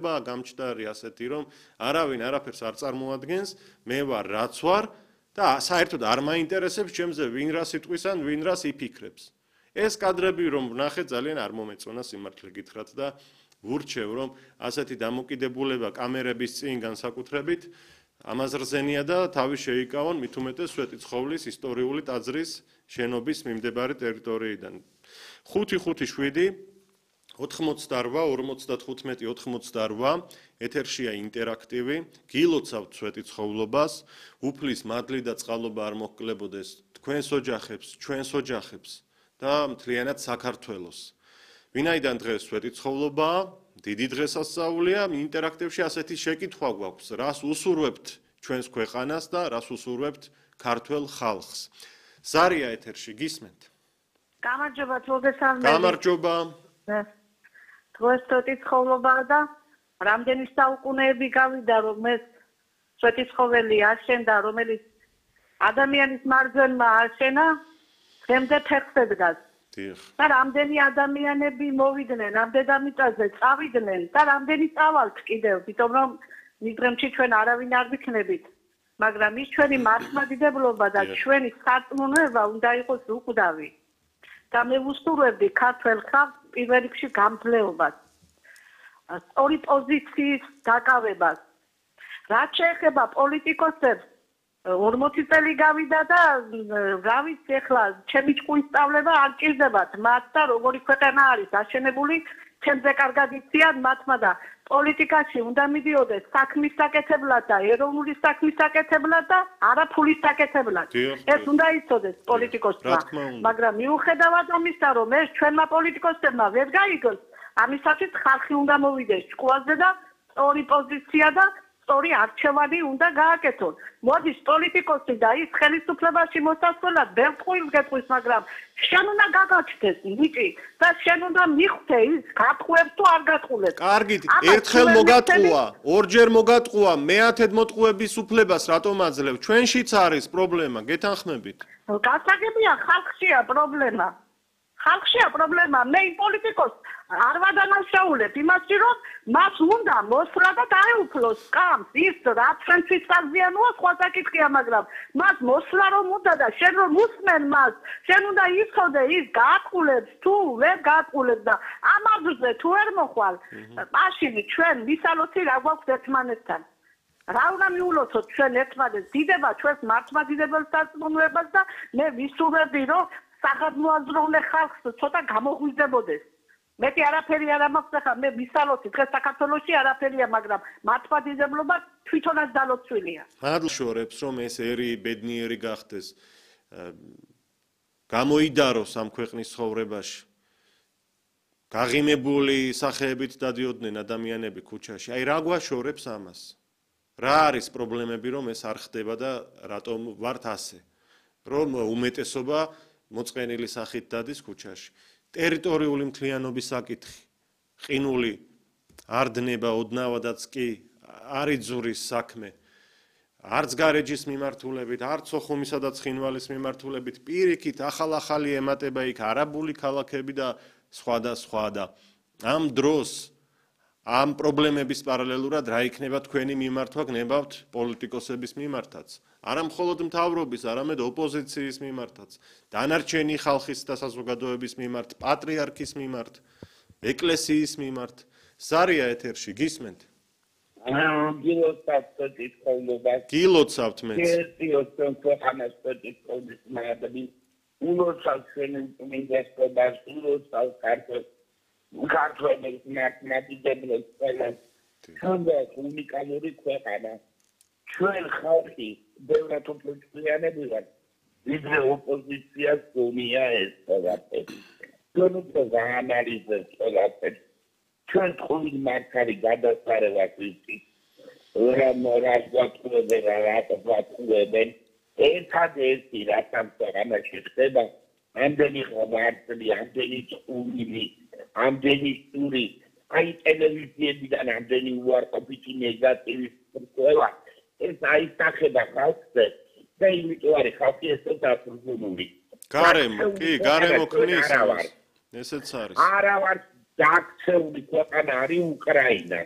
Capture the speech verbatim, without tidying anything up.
გამჭდარი ასეთი რომ არავინ არაფერს არ წარმოადგენს, მე ვარ რაც ვარ და საერთოდ არ მაინტერესებს ჩემზე ვინ რა სიტყვის ან ვინ რას იფიქრებს. ეს კადრები რომ ვნახე ძალიან არ მომეწონა სიმართლე გითხრათ და ვურჩევ რომ ასეთი დამოკიდებულება კამერების წინ განსაკუთრებით ამაზრზენია და თავი შეიკავონ მით უმეტეს სვეტიცხოვლის ისტორიული ტაძრის შენობის მიმდებარე ტერიტორიიდან. ხუთი ხუთი შვიდი ოთხმოცდაორვა ორმოცდათხუთმეტი ოთხმოცდაორვა ეთერშია ინტერაქტივი გილოცავთ სვეტიცხოვლობას უფლის მადლი და წყალობა არ მოჰკლებოდეს თქვენს ოჯახებს ჩვენს ოჯახებს და მთლიანად საქართველოს ვინაიდან დღეს სვეტიცხოვლობაა დიდი დღესასწაულია ინტერაქტივში ასეთი შეკითხვა გვაქვს რას უსურვებთ ჩვენს ქვეყანას და რას უსურვებთ ქართველ ხალხს ზარია ეთერში გისმენთ გამარჯობა მოგესალმებით გამარჯობა დღეს სვეტიცხოვლობაა და რამდენი საუკუნეები გავიდა რომ ეს სვეტიცხოველი აშენდა რომელიც ადამიანის მარჯვენმა აშენა დღემდე ფეხზე დგას და რამდენი ადამიანები მოვიდნენ ამ დედამიწაზე წავიდნენ და რამდენი წავალთ კიდევ იმიტომ რომ მიდრემში ჩვენ არავინ არ ვიქნებით მაგრამ ის ჩვენი მართლმადიდებლობა და ჩვენი სარწმუნოება უნდა იყოს უკვდავი და მე ვუსურვებდი ქართველ ხალხს პირველ რიგში გამძლეობას სწორი პოზიციის დაკავებას რაც შეეხება პოლიტიკოსებს ორმოცი წელი გავიდა და რა ვიცი ახლა ჩემი ჭკუის სწავლება არ ჭირდებათ მათ და როგორი ქვეყანა არის აშენებული ჩემზე კარგად იციან მათმა და პოლიტიკაში უნდა მიდიოდეს საქმის საკეთებლად და ეროვნული საქმის საკეთებლად და არა ფულის საკეთებლად ეს უნდა იცოდეს პოლიტიკოსმა მაგრამ მიუხედავად ამისა რომ ეს ჩვენმა პოლიტიკოსებმა ვერ გაიგოს ამისათვის ხალხი უნდა მოვიდეს ჭკუაზე და სწორი პოზიცია და სწორი არჩევანი უნდა გააკეთონ. მოდის პოლიტიკოსი და ის ხელისუფლებაში მოსასვლელად ბევრ წყვილს გეტყვის, მაგრამ შენ უნდა გაგაჩნდეს ნიკი და შენ უნდა მიხვდე ის გატყუებს თუ არ გატყულებს. კარგით, ერთხელ მოგატყუა, ორჯერ მოგატყუა, მეათედ მოტყუების უფლებას რატომ აძლევ? ჩვენშიც არის პრობლემა, გეთანხმებით? გასაგებია, ხალხშია პრობლემა. ხალხშია პრობლემა, მე იმ პოლიტიკოს არ ვადანაშაულებ იმაში, რომ მას უნდა მოსვლა და დაეუფლოს სკამს, ის რაც ჩვენთვის საზიანოა, სხვა საკითხია, მაგრამ მას მოსვლა რომ უნდა და შენ რომ უსმენ მას, შენ უნდა იცოდე ის გააყულებს თუ ვერ გააყულებს და ამ აზრზე თუ ვერ მოხვალ, მაშინ ჩვენ ვისალოცი რა გვაქვს ერთმანეთთან. რა უნდა მიულოცოთ ჩვენ ერთმანეთს, დიდება ჩვენს მართლმადიდებელ სარწმუნოებას და მე ვისურვებდი, რომ საგადმოაზროვნე ხალხს ცოტა გამოღვიძებოდეს. მეტი არაფერი არ მაქვს ახლა მე ვისალოცი დღეს საქართველოში არაფერია მაგრამ მართლმადიდებლობა თვითონაც დალოცვილია. მადლშორებს რომ ეს ერი ბედნიერი გახდეს გამოიდაროს ამ ქვეყნის ცხოვრებაში. გაღიმებული სახეებით დადიოდნენ ადამიანები ქუჩაში. აი რა გვაშორებს ამას? რა არის პრობლემები რომ ეს არ ხდება და რატომ ვართ ასე? რომ უმეტესობა მოწყენილი სახით დადის ქუჩაში. ტერიტორიული მთლიანობის საკითხი, ყინული არ დნება ოდნავადაც კი არ იძურის საქმე, არც გარეჯის მიმართულებით, არც ოხუმისა და ცხინვალის მიმართულებით, პირიქით ახალ-ახალი ემატება იქ არაბული ქალაქები და სხვა და სხვა და ამ დროს ამ პრობლემების პარალელურად რა იქნება თქვენი მიმართვა გნებავთ პოლიტიკოსების მიმართაც. არა მხოლოდ მთავრობის, არამედ ოპოზიციის მიმართაც, დანარჩენი ხალხის და საზოგადოების მიმართ, პატრიარქის მიმართ, ეკლესიის მიმართ. ზარია ეთერში გისმენთ? გილოცავთ სვეტიცხოვლობას. გილოცავთ მეც. გესიოსთან ქვეყანას სვეტიცხოვლის მადლი. ულოცავთ ჩვენი წმინდესობას, ულოცავთ ქართველ ქართველებს მართლმადიდებლებს ყველას. ჩვენს უნიკალური ქვეყანა. ჩვენ ხალხი ბევრად უფრო ჭკვიანები ვართ, ვიდრე ოპოზიციას გონია ეს ყველაფერი. ჩვენ უფრო გაანალიზებთ ყველაფერს. ჩვენ თქვენ მართალი გადასარევას ვიცით. რა მორალ გვაწყობენ, რა გვაწყობენ. ერთადერთი რაც ამ ქვეყანაში ხდება, ამდენი ღვაწლი, ამდენი წყული, ამდენი სტური, აი ტელევიზიებიდან ამდენი უარყოფითი ნეგატივი ყველა. ეს აისახება ხალხზე და იმიტომ არის ხალხი ესე დაფუძნებული. გარემო, კი, გარემო ქმნის. ესეც არის. არა ვარ დაქცეული ქვეყანა არის უკრაინა.